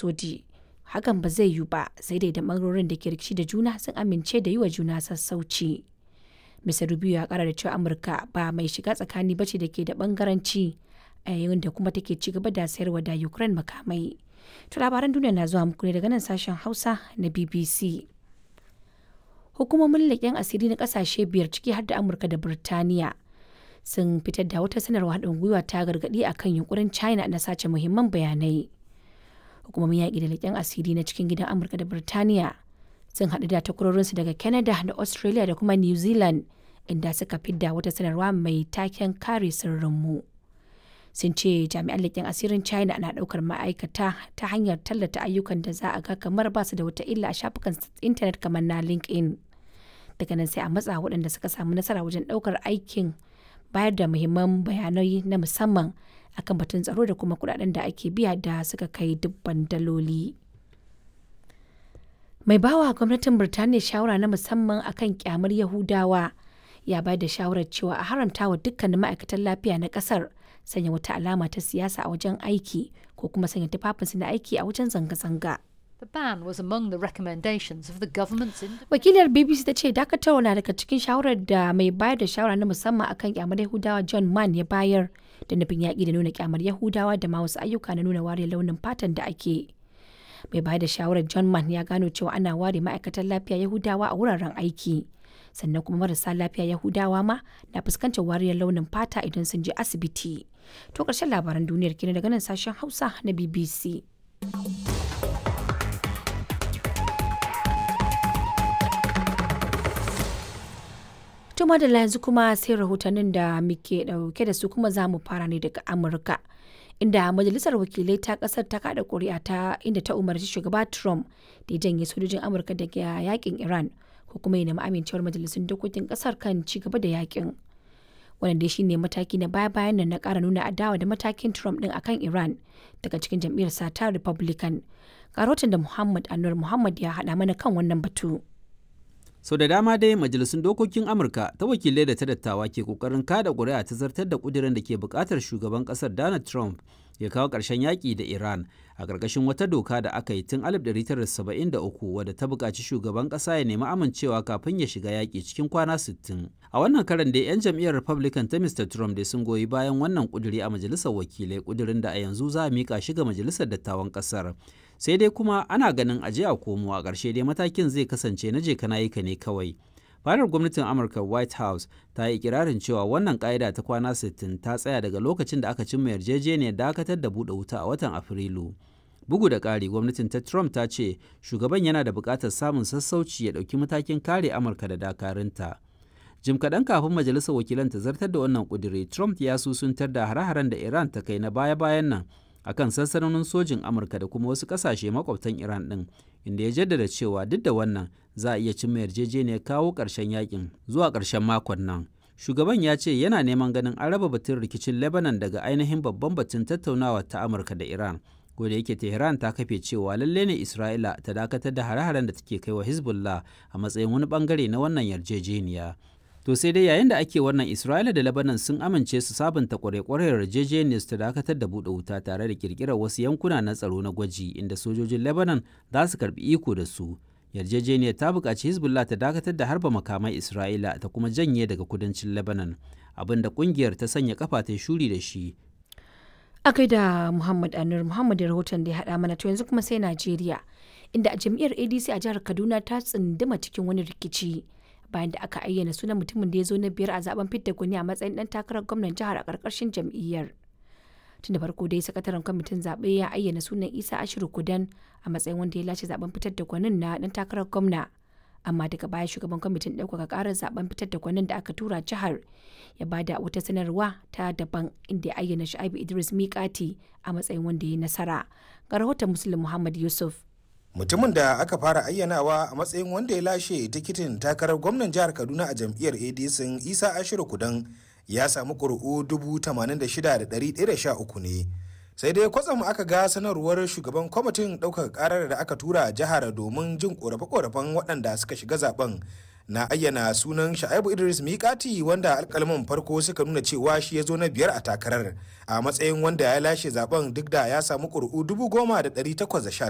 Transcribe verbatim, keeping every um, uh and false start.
soji. Hakan ba zai yiwu ba sai dai da bangarorin da ke rikici da juna sun amince da yi wa juna sassauci. Mister Rubio ya kara da cewa Amurka ba mai shiga tsakani bace da ke da bangaranci a yayin da kuma take ci gaba da sayarwa da Ukraine makamai. To labaran duniya na zuwa muku ne daga nan sashen Hausa na B B C. Hukumomin leƙen asiri na ƙasashe biyar, ciki har da Amurka da Birtaniya, sun fitar da wata sanarwa haɗin gwiwa ta gargaɗi akan yunkurin China na sace muhimman bayanai. Hukumomin yaƙi da leƙen asiri na cikin gidan Amurka da Birtaniya sun haɗu da takwarorinsu daga Canada da Australia da kuma New Zealand, inda suka fidda wata sanarwa mai taken kare sirrinmu. Sun ce jami'an leƙen asirin China na ɗaukar ma'aikata ta hanyar tallata ayyukan da za a ga kamar ba su da wata illa a shafukan intanet kamar na LinkedIn. Daga nan sai a matsa waɗanda suka samu nasara wajen ɗaukar aikin bayar da muhimman bayanai na musamman akan batun tsaro da kuma kuɗaɗen da ake biya da suka kai dubban daloli. Mai bawa gwamnatin Birtaniya shawara na musamman akan kyamar Yahudawa ya bayar da shawarar cewa a haramta wa dukkanin ma'aikatan lafiya na kasar sanya wata alama ta siyasa a wajen aiki ko kuma sanya tufafinsu na aiki a wajen zanga-zanga. The ban was among the recommendations of the government's Wakilar B B C ta ce dakatarwa na daga cikin shawarar da mai bayar da shawara na musamman akan kyamar Yahudawa John Mann ya bayar da nufin yaƙi da nuna kyamar Yahudawa da ma wasu ayyuka na nuna wariyar launin fatan da ake. Mai bayar da shawarar John Mann ya gano cewa ana ware ma'aikatan lafiya Yahudawa a wuraren aiki. Sannan kuma marasa lafiya Yahudawa ma na fuskantar wariyar launin fata idan sun je asibiti. To ƙarshen labaran duniyar kenan daga nan sashen Hausa na B B C. To madalla, yanzu kuma sai rahotannin da muke dauke da su, kuma za mu fara ne daga Amurka. Inda majalisar wakilai ta kasar ta kada kuri'a ta inda ta umarci shugaba Trump da ya janye sojojin Amurka daga yakin Iran ko kuma ya nemi amincewar majalisun dokokin kasar kan ci gaba da yakin. Wannan dai shine mataki na baya-bayan nan na kara nuna adawa da matakin Trump din akan Iran daga cikin jam'iyyar sa ta Republican. Ga rahoton da Muhammad Anur Muhammad ya haɗa mana kan wannan batu. Sau da dama dai majalisun dokokin Amurka ta wakilai da ta dattawa ke kokarin kada ƙuri'a ta zartar da ƙudirin da ke buƙatar shugaban ƙasar Donald Trump ya kawo ƙarshen yaƙi da Iran a ƙarƙashin wata doka da aka yi tun alif ɗari tara da saba'in da uku wadda ta buƙaci shugaban ƙasa ya nemi amincewa kafin ya shiga yaƙi cikin kwana sittin. A wannan karan dai 'yan jam'iyyar Republican ta Mister Trump dai sun goyi bayan wannan ƙuduri a majalisar wakilai, ƙudirin da a yanzu za a miƙa shi ga majalisar dattawan ƙasar. Sai dai kuma ana ganin aje a komo, a ƙarshe dai matakin zai kasance na je kana ka ne kawai. Fadar gwamnatin Amurka, White House, ta yi ikirarin cewa wannan ƙa'ida ta kwana sittin ta tsaya daga lokacin da aka cimma yarjejeniyar dakatar da buɗe wuta a watan Afrilu. Bugu da ƙari, gwamnatin ta Trump ta ce shugaban yana da buƙatar samun sassauci ya ɗauki matakin kare Amurka da dakarunta. Jim kaɗan kafin majalisar wakilan ta zartar da wannan ƙuduri, Trump ya susuntar da hare-haren da Iran ta kai na baya-bayan nan akan sansanonin sojin Amurka da kuma wasu ƙasashe makwabtan Iran ɗin, inda ya jaddada cewa duk da wannan za a iya cimma yarjejeniyar kawo ƙarshen yakin zuwa ƙarshen makon nan. Shugaban ya ce yana neman ganin an raba batun rikicin Lebanon daga ainihin babban batun tattaunawa ta Amurka da Iran, ko da yake Tehran ta kafe cewa lalle ne Isra'ila ta dakatar da hare-haren da take kai wa Hezbollah a matsayin wani bangare na wannan yarjejeniya. To sai dai yayin da ake wannan, Isra'ila da Lebanon sun amince su sabunta kwarekwarar yarjejeniyar su ta dakatar da buɗe wuta tare da kirkirar wasu yankuna na tsaro na gwaji inda sojojin Lebanon za su karbi iko da su. Yarjejeniyar ta buƙaci Hezbollah ta dakatar da harba makamai Isra'ila ta kuma janye daga kudancin Lebanon, abin da ƙungiyar ta sanya kafa ta shuri da shi. A da Muhammad Anur Muhammad da rahoton da ya haɗa mana. To yanzu kuma sai Najeriya, inda a jam'iyyar A D C a jihar Kaduna ta tsunduma cikin wani rikici bayan da aka ayyana sunan mutumin da ya zo na biyar a zaben fidda gwani a matsayin dan takarar gwamnan jihar a ƙarƙashin jam'iyyar. Tun da farko dai sakataren kwamitin zaɓe ya ayyana sunan Isa Ashiru Kudan a matsayin wanda ya lashe zaben fitar da gwanin na dan takarar gwamna. Amma daga baya shugaban kwamitin ɗaukaka ƙarar zaben fitar da gwanin da aka tura jihar ya bada wata sanarwa ta daban inda ya ayyana Shu'aibu Idris Mikati a matsayin wanda ya yi nasara. Ga rahoton Muslim Muhammad Yusuf. Mutumin da aka fara ayyanawa a matsayin wanda ya lashe tikitin takarar gwamnan jihar Kaduna a jam'iyyar A D C, Isa Ashiru Kudan, ya samu ƙuri'u dubu tamanin da shida da ɗari ɗaya da sha uku ne. Sai dai kwatsam aka ga sanarwar shugaban kwamitin ɗaukaka ƙarar da aka tura jihar domin jin ƙorafe-ƙorafen waɗanda suka shiga zaben na ayyana sunan Sha'ibu Idris Mikati, wanda alkalman farko suka nuna cewa shi ya zo na biyar a takarar, a matsayin wanda ya lashe zaben duk da ya samu ƙuri'u dubu goma da ɗari takwas da sha